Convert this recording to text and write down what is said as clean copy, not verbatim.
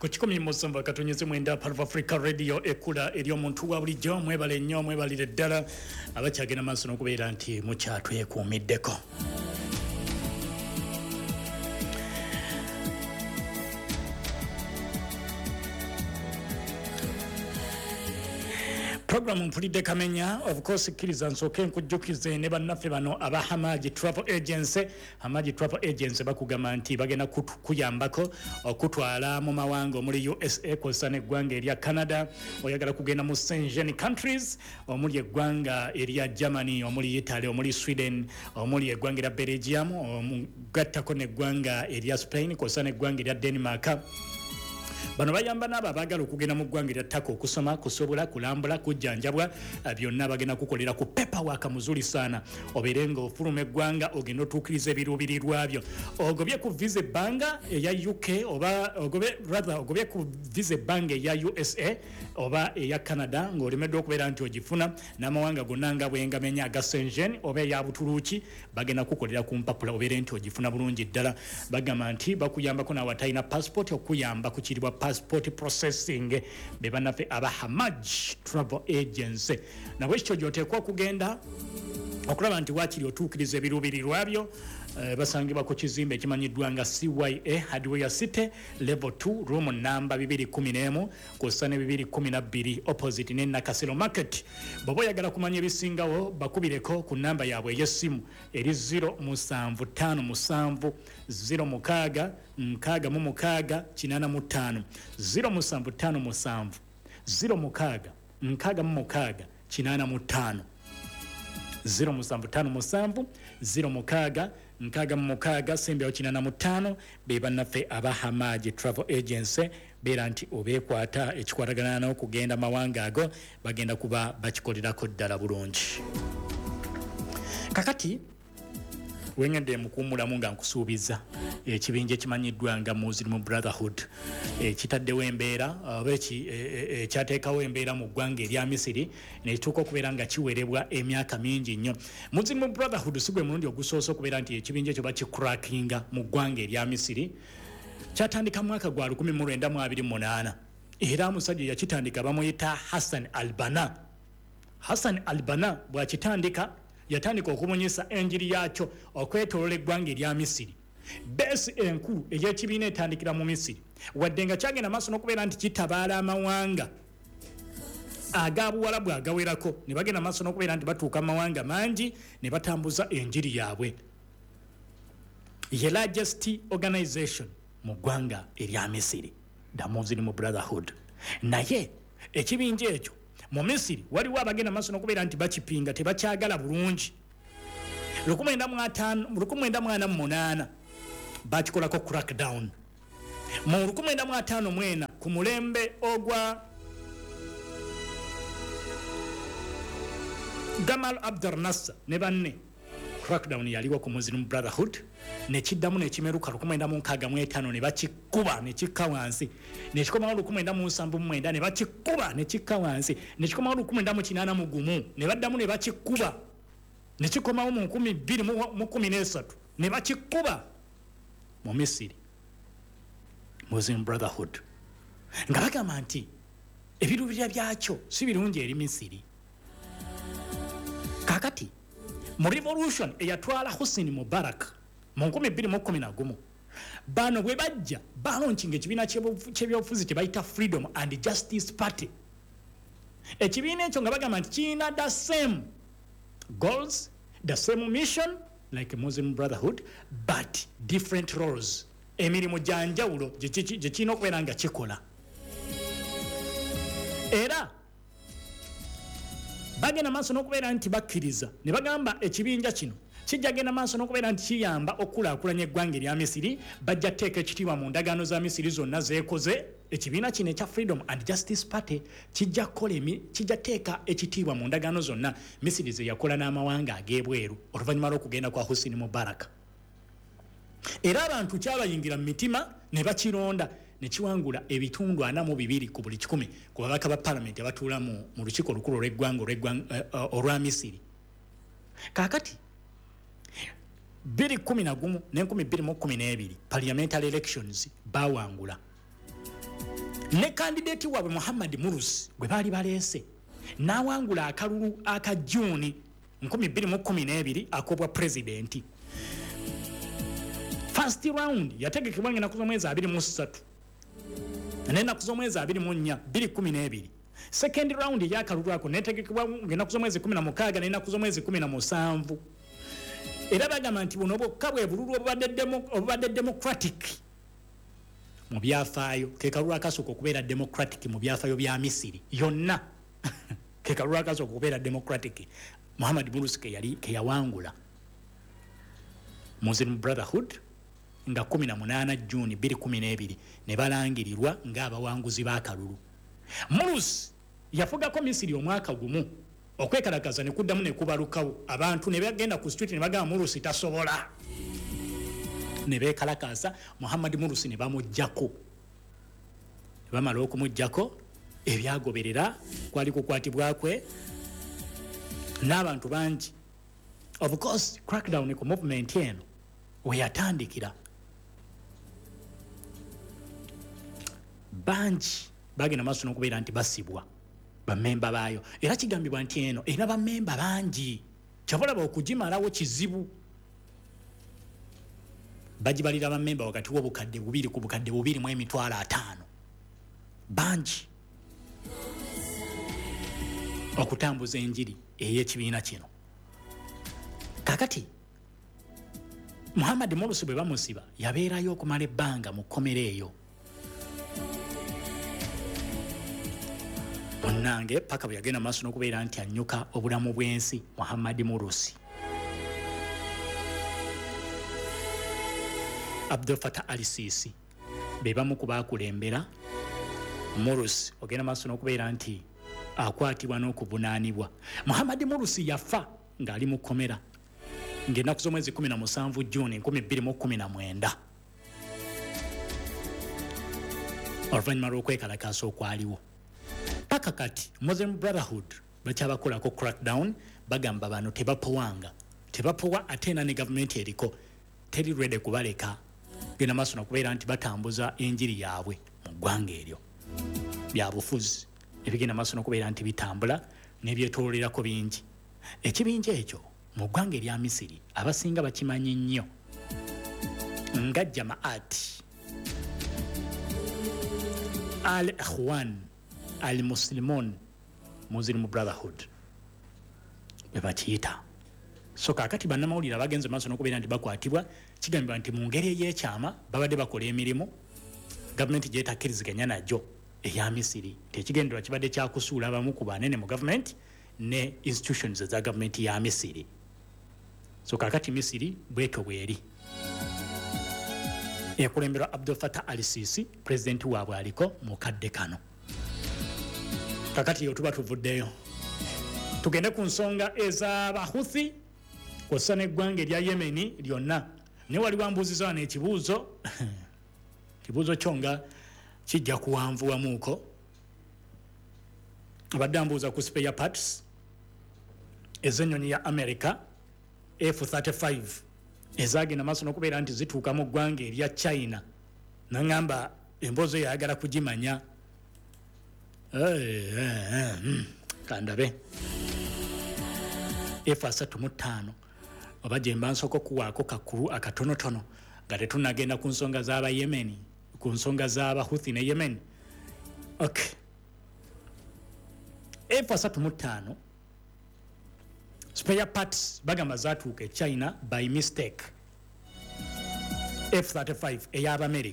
Ku 107.9 Part of Africa Radio, ekula eri omuntu wa bulijjo. Mwebale nnyo, mwebalire ddala abakyagenda maaso n'okubeera nti mukyatwekuumiddeko. Programu Mpulidde Kamenya. Of course, kkiriza nsooke nkujjukize ne bannaffe bano aba Hamaji Travel Agency. Hamaji Travel Agency bakugamba nti bagenda kuyambako okutwala mu mawanga omuli USA kw'ossa n'eggwanga erya Canada. Oyagala kugenda mu Schengen countries omuli eggwanga erya Germany, omuli Italy, omuli Sweden, omuli eggwanga erya Belgium, omugattako n'eggwanga erya Spain kw'ossa n'eggwanga erya Denmark. Bano bayamba n'abo abaagala okugenda mu ggwanga erya Turkey okusoma, kusobola kulambula, kujjanjabwa, byonna bagenda kukolera ku paperwork muzuri sana, obeere nga ofuluma eggwanga ogenda otuukiriza ebiruubirirwa byo. Ogobye ku visa ebbanga eya UK oba ogobye, rather ogobye ku visa ebbanga eya USA oba eya Canada ng'olemeddwa okubeera nti ogifuna, n'amawanga gonna nga bwengamenya aga Schengen oba eya Buturuuki, bagenda kukolera ku mpapula obeere nti ogifuna bulungi ddala. Bagamba nti bakuyambako naawe atalina passport okuyamba ku kiribwa passport processing. Be bannaffe aba Hamaj Travel Agency. Nabwekityo gyoteekwa okugenda okulaba nti wakiri otuukiriza ebiruubirirwa byo. Basangibwa ku kizimbe ekimanyiddwa nga CYA Hardware City, level 2, room namba 211 kw'ossa ne 212, opposite ne Nakasero Market. Bw'oba oyagala kumanya ebisingawo, bakubireko ku namba yaabwe ey'essimu eri 0757 06 66 85, 0757 06 66 85, 0757 06 66 sembyawo 85. Be bannaffe aba Hamaji Travel Agency. Beera nti obeekwata, ekikwatagana n'okugenda mawanga ago bagenda kuba bakikolerako ddala bulungi. Kakati wengedde mukuwummulamu nga nkusuubiza ekibinja ekimanyiddwa nga Muslim Brotherhood ekitaddewo embeera oba ekyateekawo embeera mu ggwanga erya Misiri nekituuka okubeera nga kiwerebwa emyaka mingi nnyo. Muslim Brotherhood si gwe mulundi ogusoose okubeera nti ekibinja ekyo bakicrackinga mu ggwanga erya Misiri. Kyatandika mwaka gwa 1928 era omusajja yakitandika bamuyita Hassan Albana. Hassan Albana bwakitandika, yatandika okubunyisa enjiri yakyo okwetolola eggwanga erya Misiri. Base enkulu ey'ekibiina etandikira mu Misiri, wadde nga kyagenda maaso n'okubeera nti kitabaala amawanga aga Buwalabu agawerako, ne bagenda maaso n'okubeera nti batuuka mu mawanga mangi ne batambuza enjiri yaabwe. Ye largest organization mu ggwanga erya Misiri, the Muslim Brotherhood. Naye ekibinja ekyo mu Misiri waliwo abagenda maaso n'okubeera nti bakipinga, tebakyagala bulungi. 1948 bakikolako crackdown. Mu 1954 ku mulembe ogwa Gamal Abdel Nasser ne banne, crackdown yaliwo ku Muslim Brotherhood. Nekiddamu nekimeruka 1965 ne bakikuba nekikka wansi, nekikomawo 1979 ne bakikuba nekikka wansi, nekikomawo 1981 ne baddamu ne bakikuba, nekikomawo mu 2013 ne bakikuba mu Misiri. Muslim Brotherhood nga bagamba nti ebirubirira byakyo si birungi eri Misiri. Kakati mu revolution eyatwala Hussein Mubarak mu 2011, bano bwe bajja balaunchinga ekibiina kyebyobufuzi kye bayita Freedom and Justice Party. Ekibiina ekyo nga bagamba nti kirina the same goals, the same mission like Muslim Brotherhood, but different roles, emirimu gya njawulo gye kirina okubeera nga kikola. Era bagenda maaso n'okubeera nti bakkiriza ne bagamba ekibinja kino kijja genda maaso n'okubeera nti kiyamba okukulaakulanya eggwanga erya Misiri, bajja kuteeka ekitiibwa mu ndagaano za Misiri zonna zeekoze. Ekibiina kino ekya Freedom and Justice Party kijja kukola kijja kuteeka ekitiibwa mu ndagaano zonna Misiri ze yakola n'amawanga ag'ebweru oluvannyuma lw'okugenda kwa Hussein Mubarak. Era abantu kyabayingira mu mitima ne bakironda ne kiwangula ebitundu 42 ku buli 100 ku babaka ba palamenti abatuula mu lukiiko olukulu olw'eggwanga olwa Misiri. Kaakati 2011 ne 2012 parliamentary elections bawangula. Ne candidate waabwe Muhammad Mursi gwe baali baleese n'awangula akalulu aka Juni 2012 ak'obwa pulezidenti. First round yategekebwa ng'ennaku z'omwezi 23 n'ennaku z'omwezi 24 2012. Second round ey'akalulu ako netegekebwa ng'ennaku z'omwezi 16 n'ennaku z'omwezi 17. Era bagamba nti buno bwokka bwe bululu obubadde democratic mu byafaayo, ke kalulu akasooka okubeera democratic mu byafaayo bya Misiri yonna. Ke kalulu akasooka okubeera democratic Muhammad Mursi ke yawangula. Muslim Brotherhood nga 18 Juni 2012 ne balangirirwa ng'abawanguzi b'akalulu. Mursi yafugako Misiri omwaka gumu, okwekalakaza ne kuddamu ne kubalukawo, abantu ne bagenda ku street ne bagamba Mursi tasobola, ne beekalakaasa, Muhammad Mursi ne bamuggyako. Ne bamala okumuggyako, ebyagoberera kwali kukwatibwa kwe n'abantu bangi. Of course crackdown ku movement eno we yatandikira, bangi bagenda maaso n'okubeera nti basibwa bammemba baayo, era kigambibwa nti eno erina bammemba bangi, kyabalaba okugimalawo kizibu. Bagibalira bammemba wakati w'obukadde 2 ku bukadde 2 mu 50,000, bangi okutambuza enjiri ey'ekibiina kino. Kakati Muhammad Mursi bwe bamusiba, yabeerayo okumala ebbanga mu kkomera eyo munnange, paka bwe yagenda maaso n'okubeera nti annyuka obulamu bw'ensi. Muhammad Mursi, Abdul Fatah Al Sisi be bamu ku baakulembera Mursi ogenda maaso n'okubeera nti akwatibwa n'okuvunaanibwa. Muhammad Mursi yafa ng'ali mu kkomera ng'ennaku z'omwezi 17 Juni 2019, oluvannyuma lw'okwekalakaasa okwaliwo. Paka kati Muslim Brotherhood bakyabakolako crackdown, bagamba bano tebapowanga, tebapowa, ate era ne gavumenti eriko teri ready kubaleka genda maaso nakubeera nti batambuza enjiri yaabwe mu ggwanga eryo. Byabufuzi ebigenda maaso nokubeera nti bitambula n'ebyetololerako bingi. Ekibinja ekyo mu ggwanga erya Misiri abasinga bakimanyi nnyo nga Jamaat Al Ikhwan Al Muslimun, Muslim Brotherhood bwe bakiyita. So kaakati bannamawulire abagenze maaso n'okubeera nti bakwatibwa, kigambibwa nti mu ngeri ey'ekyama babadde bakola emirimu gavumenti gyetakkiriziganya nagyo eya Misiri. Tekigendererwa kibadde kyakusuula abamu ku banene mu gavumenti ne institutions eza gavumenti ya Misiri. So kaakati Misiri bwetyo bweri ekulemberwa Abdul Fatah Al Sisi, pulezidenti waabwe aliko mu kadde kano. Kakati yo tuba tuvuddeyo, tugende ku nsonga ez'Abahuthi kw'ossa n'eggwanga erya Yemeni lyonna. Naye waliwo ambuuziza wano ekibuuzo, kibuuzo kyo nga kijja kuwanvuwamuuko. Abadde ambuuza ku spare parts ez'ennyonyi ya America F35 ezagenda maaso n'okubeera nti zituuka mu ggwanga erya China, naŋŋamba emboozi eyo ayagala kugimanya. Kandabe F35 oba gye mba nsooka okuwaako kakulu akatonotono nga tetunnagenda ku nsonga z'Abayemeni, ku nsonga z'Abahuthi ne Yemen. Ok, F35 spare parts bagamba zatuuka e China by mistake, F35 ey'Abamerika.